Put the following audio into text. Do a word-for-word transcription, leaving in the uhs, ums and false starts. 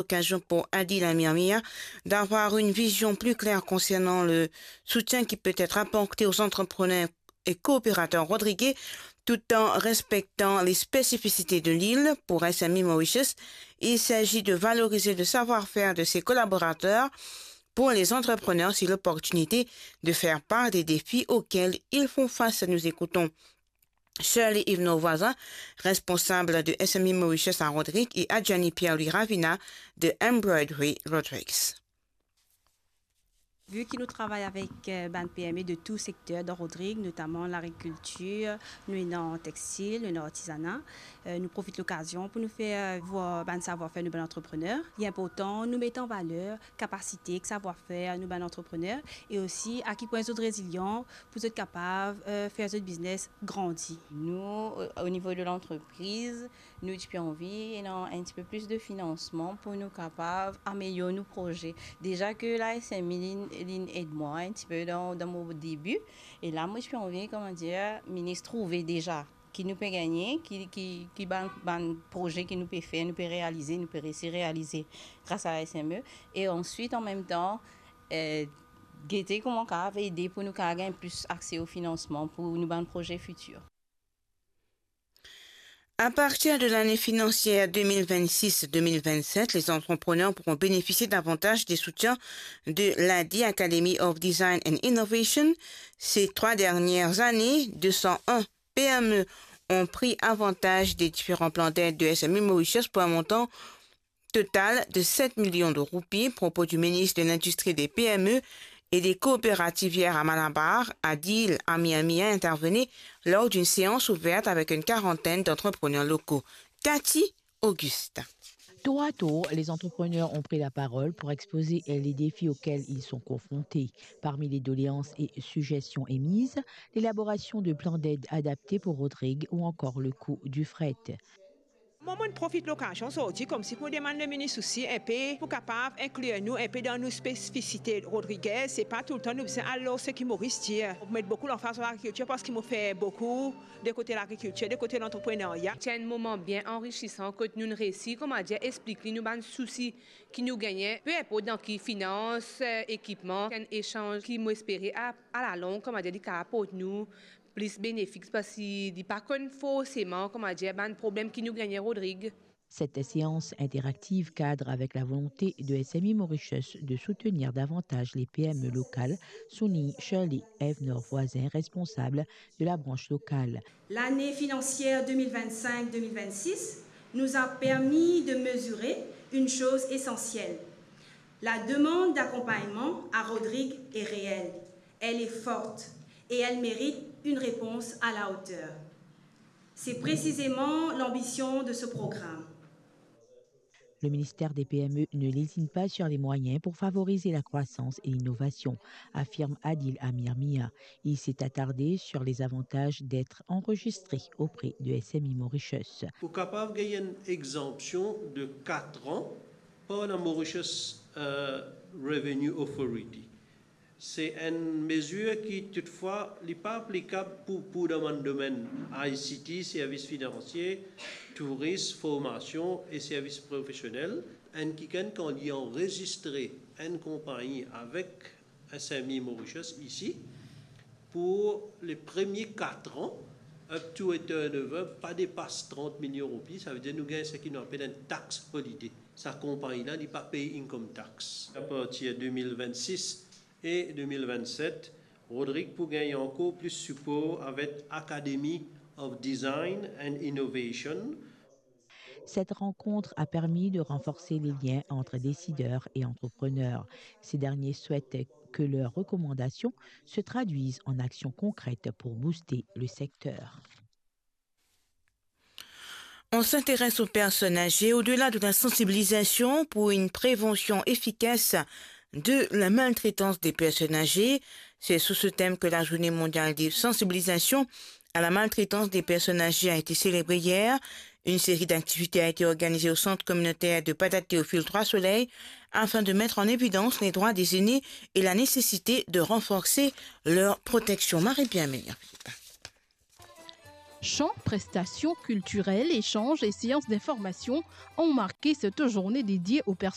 l'occasion pour Adil Amir Mia d'avoir une vision plus claire concernant le soutien qui peut être apporté aux entrepreneurs et coopérateurs rodriguais, tout en respectant les spécificités de l'île. Pour S M E Mauritius, il s'agit de valoriser le savoir-faire de ses collaborateurs. Pour les entrepreneurs, c'est l'opportunité de faire part des défis auxquels ils font face. Nous écoutons Shirley Yves Voisin, responsable de S M E Mauritius à Rodrigues, et Adjani Pierre-Louis Ravina de Embroidery Rodrigues. Vu que nous travaillons avec, euh, bann P M E de tout secteur dans Rodrigues, notamment l'agriculture, nou ena textile, nou ena artisanat, euh, nou profit lokazion pou nou fer, euh, vwar bann savoir-faire nou bann entrepreneur. Li inportan nou met an valer kapasite ek savoir-faire nou bann entrepreneur e osi a ki pwin zot rezilyan pou zot kapav, euh, fer zot biznes grandi. Nou, o, o nivo de lantrepriz, nou ti pe anvi ena enn tipe plis de finansman pou nou kapav amelior nou proze. Deza ke la S M I linn, linn ed mwa enn tipe dan, dan mo debi, e la mo ti pe anvi, kouma dir, minis trouve deza ki nou pe gagne, ki, ki, ki bann, bann proze ki nou pe fer, nou pe realize, nou pe resi realize gras a la S M E. E answit, an mem tan, eh, gete kouma kapav ede pou nou kapav gagn plis akse o finansman pou nou bann proze fitir. À partir de l'année financière deux mille vingt-six deux mille vingt-sept, les entrepreneurs pourront bénéficier davantage des soutiens de l'A D I Academy of Design and Innovation. Ces trois dernières années, deux cent un P M E ont pris avantage des différents plans d'aide de S M E Mauritius pour un montant total de sept millions de roupies, propos du ministre de l'Industrie, des P M E et des Coopératives hier à Malabar, Adil Amir Mia intervenait lors d'une séance ouverte avec une quarantaine d'entrepreneurs locaux. Cathy Augustin. Tour à tour, les entrepreneurs ont pris la parole pour exposer les défis auxquels ils sont confrontés. Parmi les doléances et suggestions émises, l'élaboration de plans d'aide adaptés pour Rodrigues ou encore le coût du fret. Mwa, mo'nn profit lokazion zordi koumsi pou demann le minis osi inpe pou kapav inklir nou inpe dan nou spesifisite Rodriguez. Se pa toultan nou bizin al lor seki Moris dir. Mo met boukou lanfaz lor lagrikiltir parski mo fer boukou de kote lagrikiltir, de kote lantreprenarya. Ti enn moman bien anrisisan kot nou'nn resi, kouma dir, explik li nou bann sousi ki nou gagne, pe inport dan ki finans, eh, ekipman, enn esanz ki mo espere a, a lalong, kouma dir, li kapav aport nou plis benefis, parski li pa konn forseman, kouma dir, bann problem ki nou gagne Rodrigues. Cette séance interactive cadre avec la volonté de S M E Mauritius de soutenir davantage les P M E locales, souligne Shirley Evnor Voisin, responsable de la branche locale. L'année financière deux mille vingt-cinq deux mille vingt-six nous a permis de mesurer une chose essentielle. La demande d'accompagnement à Rodrigues est réelle, elle est forte et elle mérite une réponse à la hauteur. C'est précisément l'ambition de ce programme. Le ministère des P M E ne lésine pas sur les moyens pour favoriser la croissance et l'innovation, affirme Adil Amir Mia. Il s'est attardé sur les avantages d'être enregistré auprès de S M E Mauritius. Ou kapav gagn enn egzanpsion de kat an par la Mauritius, euh, Revenue Authority. Se enn mezir ki, toutfwa, li pa aplikab pou, pou dan bann domenn I C T, servis finansie, tourism, formasion e servis profesionel. Enn kikenn, kan li anrezistre enn konpagni avek S M E Mauritius isi, pou le premie kat an, up to a turnover pa depas trant milion roupi, savedir nou gagn seki nou apel enn tax holiday. Sa konpagni la, li pa pey income tax. Apartir de mil vennsis, e de mil vennset, Rodrigues pou gagn ankor plis sipor avek Academy of Design and Innovation. Cette rencontre a permis de renforcer les liens entre décideurs et entrepreneurs. Ces derniers souhaitent que leurs recommandations se traduisent en actions concrètes pour booster le secteur. On s'intéresse aux personnes âgées au-delà de la sensibilisation pour une prévention efficace de la maltraitance des personnes âgées. C'est sous ce thème que la journée mondiale de sensibilisation à la maltraitance des personnes âgées a été célébrée hier. Une série d'activités a été organisée au centre communautaire de Padat Théophile Trois Soleils afin de mettre en évidence les droits des aînés et la nécessité de renforcer leur protection. Marie-Pierre Meyer. Chants, prestations culturelles, échanges et séances d'information ont marqué cette journée dédiée aux personnes